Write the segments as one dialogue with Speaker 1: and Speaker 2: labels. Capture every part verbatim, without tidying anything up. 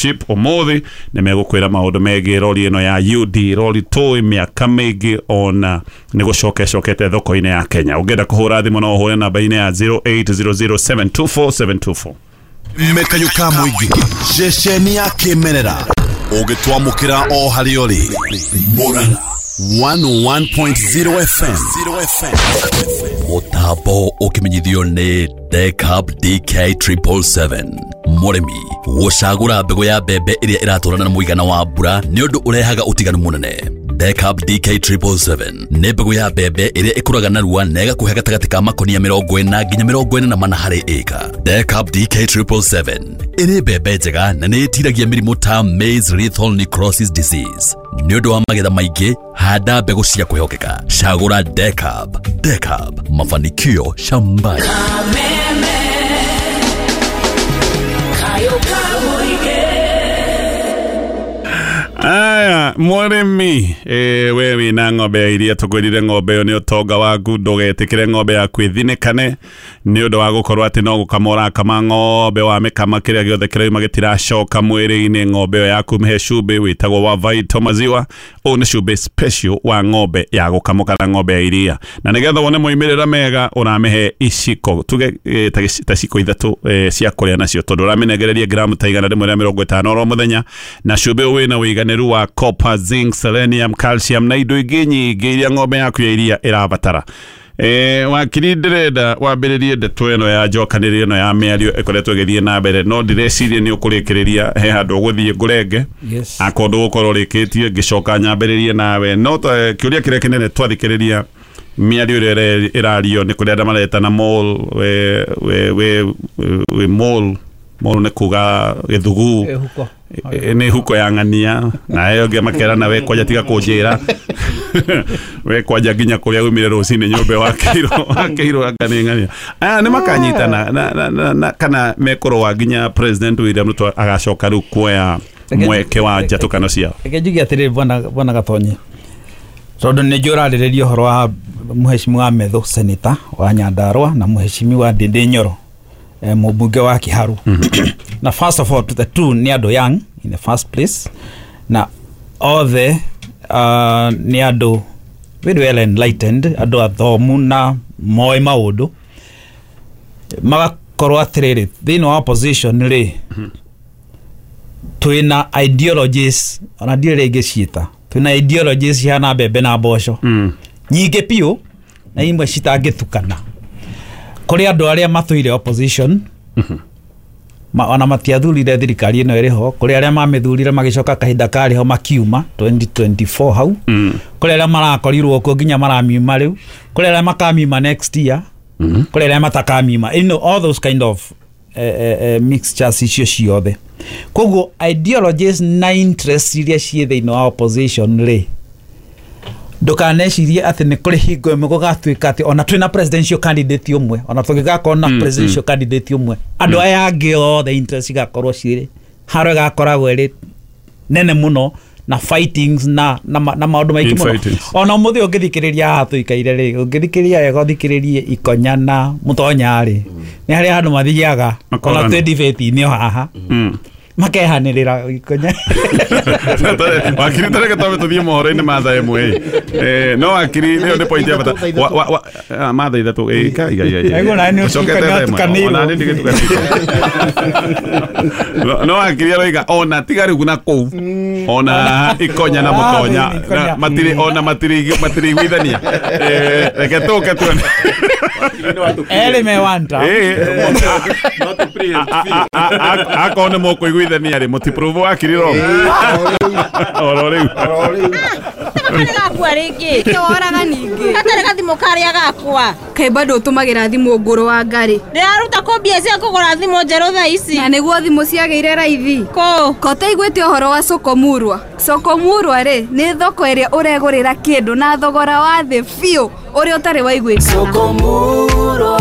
Speaker 1: Chip umuthi nä megåkwä maå ndå megiä rori ä no ya U D rori tå mä aka mä ingä ona nä gå coka ĩcokete thoko-inĩ ya Kenya. Ũngĩenda kũhũra thimũ no ũhũre namba-inĩ ya zero eight zero zero seven two four seven two four.
Speaker 2: Mekayuka mũingĩ ceceni ya kĩmerera ũgĩtwamũkĩra o harĩa ũrĩ Murang'a one oh one point zero F M
Speaker 3: Mũtambo ũkĩmenyithio nĩ Decab D K triple seven. Mũrĩmi gũcagũra mbegũ ya mbembe ĩrĩa ĩratwarana na mũigana wa mbura nĩ ũndũ ũrehaga ũtiganu mũnene. Decab D K triple seven nĩ mbegũ ya mbembe ĩrĩa ĩkũraga narua na ĩgakũhe gatagatĩ ka makonia mĩrongo ĩna nginya mĩrongo ĩna na mana harĩ ĩka. Decab D K triple seven ĩrĩ mbembe njega na nĩ ĩtiragia mĩrimũ ta maize lethal necrosis disease. Nĩ ũndũ wa magetha maingĩ, handa mbegũ cia kwĩhokeka. Cagũra Decab. Decab, mafanikio shambani.
Speaker 1: Aya, mwaremi, eh, we wina ng'ombe ya iria tũkwĩrire ng'ombe ĩyo nĩ ũtonga waku, ndũgetĩkĩre ng'ombe yaku ĩthinĩkane nĩ ũndũ wa gũkorwo atĩ no gũkama ũrakama ng'ombe, wamĩkama kĩrĩa gĩothe kĩrauma gĩtiracoka mwĩrĩ-inĩ. Ng'ombe ĩyo yaku mĩhe cumbĩ wĩtagwo wa Vital Maziwa. Ũyũ nĩ cumbĩ special wa ng'ombe ya gũkamwo kana ng'ombe ya iria, na nĩgetha wone moimĩrĩra mega ũramĩhe iciko tuge eh, ta gĩci-, ta ciko ithatũ, eh, cia kũrĩa nacio, tondũ ũramĩnengereria gramu ta igana rĩmwe rĩa mĩrongo ĩtano oro mũthenya, na cumbĩ ũyũ wĩna ũiganĩru wa copper, zinc, selenium, calcium na indo ingĩ nyingĩ iria ng'ombe yaku ya iria ĩrabatara. Eh, wakiri ndĩrenda wambĩrĩrie ndeto ĩno ya njokanĩrĩrio ĩno ya mĩario ĩkoretwo ĩgĩthiĩ na mbere, no ndĩreciria nĩ ũkũrĩkĩrĩria he handũ ũgũthiĩ ngũrenge.
Speaker 4: Yes.
Speaker 1: Akorwo ndũgũkorwo ũrĩkĩtie ngĩcoka nyambĩrĩrie nawe. No ta-, kĩũria kĩrĩa kĩnene twathikĩrĩria mĩario ĩrĩa ĩre-, ĩrario nĩ kũrĩa andũ maretana mole, we, we, we, we mole, mole nĩ kuga gĩthugu.
Speaker 4: Ĩhuko.
Speaker 1: E, nĩ huko ya ng'ania, na ĩyo ĩngĩ makerana we kwanja tiga kũnjĩra. We kwanja nginya kũrĩa umire rũcinĩ nyũmba wakĩirwo, wakĩirwo anga nĩ ng'ania. Aya nĩ makanyitana, na, na, na, na, kana mekũrũa nginya President William Ruto agacoka rĩu kuoya
Speaker 4: Reke-
Speaker 1: mweke wa njatũkano ciao.
Speaker 4: Reke njuge atĩrĩrĩ, bwana, bwana Gatonye, tondũ nĩ njũĩ ũrarĩrĩria ũhoro wa mũhecimiwa Methu senator wa Nyandarua na mũhecimiwa Ndindi Nyoro, eh, mũmbunge wa Kiharu.
Speaker 1: Mm-hmm.
Speaker 4: Na first of all, to the two nĩ andũ young in the first place, na othe, uh, nĩ andũ very well enlightened, andũ athomu na moĩ maũndũ. Magakorwo atĩrĩrĩ, thĩinĩ wa opposition rĩ,
Speaker 1: Mm-hmm.
Speaker 4: twĩna ideologies, ona ndiũĩ rĩngĩ ciĩta, twĩna ideologies cihana mbembe na mboco.
Speaker 1: Mm.
Speaker 4: Nyingĩ biũ, na imwe citangĩtukana. Kũrĩ andũ arĩa matũire opposition,
Speaker 1: Mm-hmm.
Speaker 4: ma, ona matiathurire thirikari ĩno ĩrĩ ho, kũrĩ arĩa mamĩthurire magĩcoka kahinda karĩ ho makiuma twenty twenty-four hau.
Speaker 1: Mm.
Speaker 4: Kũrĩ arĩa marakorirwo kuo nginya maramiuma rĩu, kũrĩ arĩa makamiuma next year,
Speaker 1: Mm-hmm.
Speaker 4: kũrĩ arĩa matakamiuma. You know, all those kind of, eh, eh, eh, mixtures icio ciothe. Koguo ideologies na interests iria ciĩ thĩinĩ wa opposition rĩ, ndũkanecirie atĩ nĩ kũrĩ hingo ĩmwe gũgatuĩka atĩ ona twĩna presidential candidate ũmwe, ona tũngĩgakorwo na
Speaker 1: Mm,
Speaker 4: presidential
Speaker 1: mm.
Speaker 4: candidate ũmwe, andũ
Speaker 1: Mm.
Speaker 4: aya angĩ othe interest igakorwo cirĩ harĩa ĩgakoragwo ĩrĩ nene mũno na fightings na, na, ma-, na maũndũ maingĩ mũno.
Speaker 1: Infightings.
Speaker 4: Ona ũmũthĩ ũngĩthikĩrĩria haha tũikaire rĩ, ũngĩthikĩrĩria wega ũthikĩrĩrie Ikonya na Mũtonya rĩ, nĩ harĩa andũ mathiaga, ona
Speaker 1: Makorana.
Speaker 4: twĩ debate-inĩ o haha.
Speaker 1: Mm.
Speaker 4: Makehanĩrĩra Ikonya.
Speaker 1: Wakiri, tareke twambe tũthiĩ mohoro-inĩ ma thaa ĩmwe. Eh, no wakiri, ĩyo nĩ point ya bata. Wa, wa, wa, ah, ma thaa ithatũ, eh, ka, iga, iga, iga.
Speaker 4: Aigua, na nĩ
Speaker 1: Ũcokete
Speaker 4: ũtukania
Speaker 1: thaa ĩmwe.
Speaker 4: ũtukanĩirwo.
Speaker 1: Ona nĩ ndigĩtukanĩirwo. No, no wakiri aroiga, ona tiga rĩu na kũu. Ona Ikonya na
Speaker 4: Ah,
Speaker 1: Mũtonya.
Speaker 4: Ikonya.
Speaker 1: Na matirĩ, ona matirĩ, matirĩiguithania. Eh, reke tũke tuone.
Speaker 4: Erĩ me one term.
Speaker 1: Eh, a, a, a, a, akorwo nĩ mũkũiguithania rĩ, mũtiprove wakiri wrong. Oro rĩu.
Speaker 5: Gatarĩ gakua rĩngĩ.
Speaker 6: Nĩkĩo woraga ningĩ.
Speaker 5: Gatarĩ gathimũ karĩa gakwa.
Speaker 6: Kaĩ bado ũtũmagĩra thimũ ngũrũ wa ngarĩ.
Speaker 5: Ndĩraruta kũ mbia cia kũgũra thimũ njerũ thaa ici?
Speaker 6: Na nĩguo thimũ ciagĩire raithi.
Speaker 5: Kũ?
Speaker 6: Ko ũtaiguĩte ũhoro wa Soko Murwa? Soko Murwa rĩ, nĩ thoko ĩrĩa ũregũrĩra kĩndũ na thogora wa thĩ biũ ũrĩa ũtarĩ waiguĩkana.
Speaker 7: Soko Murwa,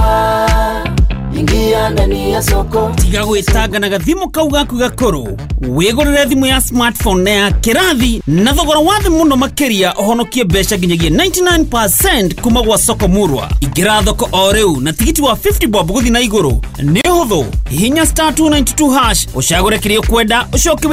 Speaker 7: ingia ndani ya soko.
Speaker 8: Tiga gwĩtanga na gathimũ kau gaku gakũrũ. Wĩgũrĩre thimũ ya smartphone na ya kĩrathi na thogora wa thĩ mũno makĩria, ũhonokie mbeca nginyagia ninety-nine percent kuma gwa Soko Murwa. Ingĩra thoko o rĩu na tigiti wa fifty bob gũthiĩ na igũrũ. Nĩ ũhũthũ. Hihinya star two ninety-two hash, ũcagũre kĩrĩa ũkwenda, ũcoke